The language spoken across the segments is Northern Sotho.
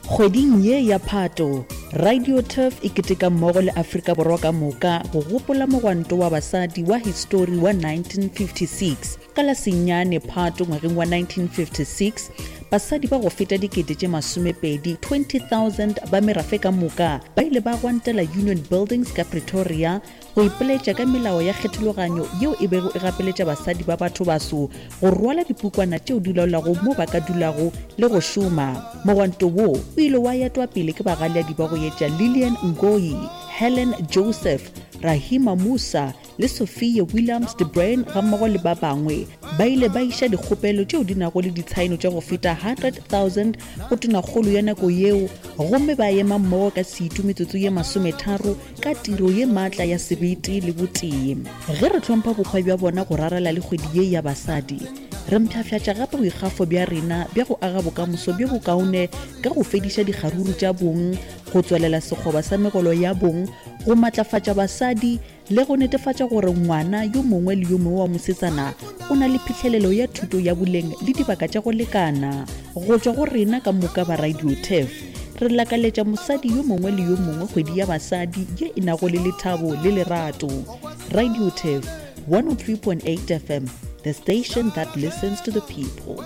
Kgweding ye ya Phato, Radio Turf e keteka mmogo le Afrika Borwa ka moka go gopola mogwanto wa basadi wa histori wa 1956. Ka la senyane Phato ngwageng wa 1956, basadi ba go feta dikete tše masomepedi, 20,000, ba merafe ka moka ba ile ba gwantela Union Buildings ka Pretoria go ipoletša ka melao ya kgethologanyo yeo e bego e gapeletša basadi ba bathobaso go rwala dipukwana tšeo di laolago mo ba ka dulago le go šoma. Mogwanto wo o ile wa etwa pele ke bagaleadi ba go etša Lillian Ngoyi, Helen Joseph, Rahima Moosa le Sophia Williams de Bruyn gammogo le ba bangwe. Ba ile ba iša dikgopelo tšeo di nago le ditshaeno tša go feta 100,000 go tonakgolo ya nako yeo gomme ba ema mmogo ka setu metsotso ye masometharo ka tiro ye maatla ya sebete le botee. Ge re hlompha bohwa bja bona go rarela le kgwedi ye ya basadi, re mpshafšatša gape boikgafo bja rena bja go aga bokamoso bjo bokaone ka go fediša dikgaruru tša bong, go tswelela sekgoba sa megolo ya bong, go matlafatša basadi le go netefatša gore ngwana yo mongwe le yo mongwe wa mosetsana o na le phihlelelo ya thuto ya boleng le dibaka tša go lekana. Go tšwa go rena ka moka ba Radio Turf, re lakaletša mosadi yo mongwe le yo mongwe kgwedi ya basadi ye e nago le lethabo le lerato. Radio Turf, 103.8 FM, the station that listens to the people.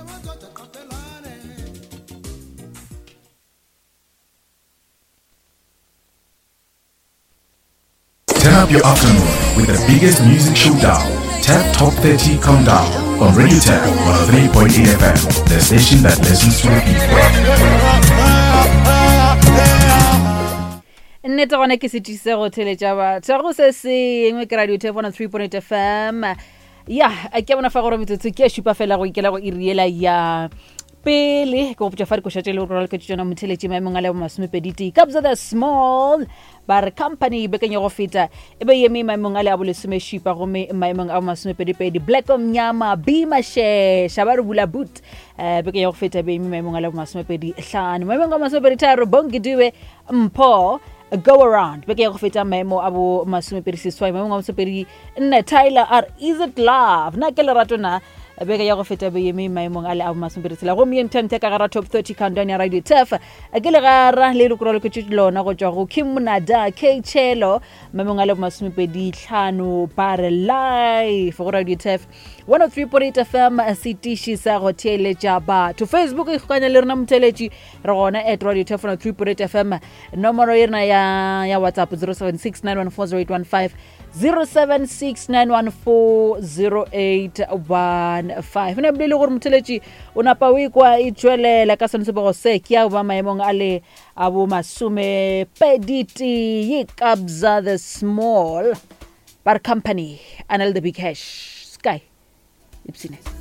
Turn up your afternoon with the biggest music showdown, Tap Top 30 Countdown on Radio Tap 103.8 FM, the station that listens to the people. Nnete gona ke setšise go theletša batho go se sengwe ke radio tap 103.8 FM. Ya ke bona fa gore metsotso ke šupa fela go ikela go iriela ya pele ke go botša fa dikoša tše le gore raloketše tšona motheletši maemong a le masomepedi tee Kabza the Small Ba re company bekeng ya go feta e be eme maemong a le a bolesomešupa gomme maemong a bomasomepedipedi Black Omnyama B Mashesha ba re bula boot um bekeng ya go feta e be eme maemong a le bomasomepedi hlano maemong a masomepedi tharo Bongi Dube Mpho Go Around beke ya go feta maemo a bo masomepedi seswai maemong a masomepedi nne Tyler a re is it love na ke lerato na beke ya go feta be eme maemong a le a bo masomepedi tshela gomme ye ntho ka gara top 30 countdown ya Radio Turf ke legara le le koraloketše lona go tšwa go Kim Monada K Chelo maemong a le masomepedi tlhano ba re live go Radio Turf 103.8 FM setiši sa go theeletša batho Facebook e kgokanya le rena motheeletši re gona at Radio Turf 103.8 FM nomoro ye rena ya, ya WhatsApp 076 914 0769140815 ne bolele gore motheletši o napa o ikwa e tšwelela ka sone sebego se ke ya ba maemong a le a bo masomepedi tee Kabza the Small ba re company a na le the big hash sky ipsine.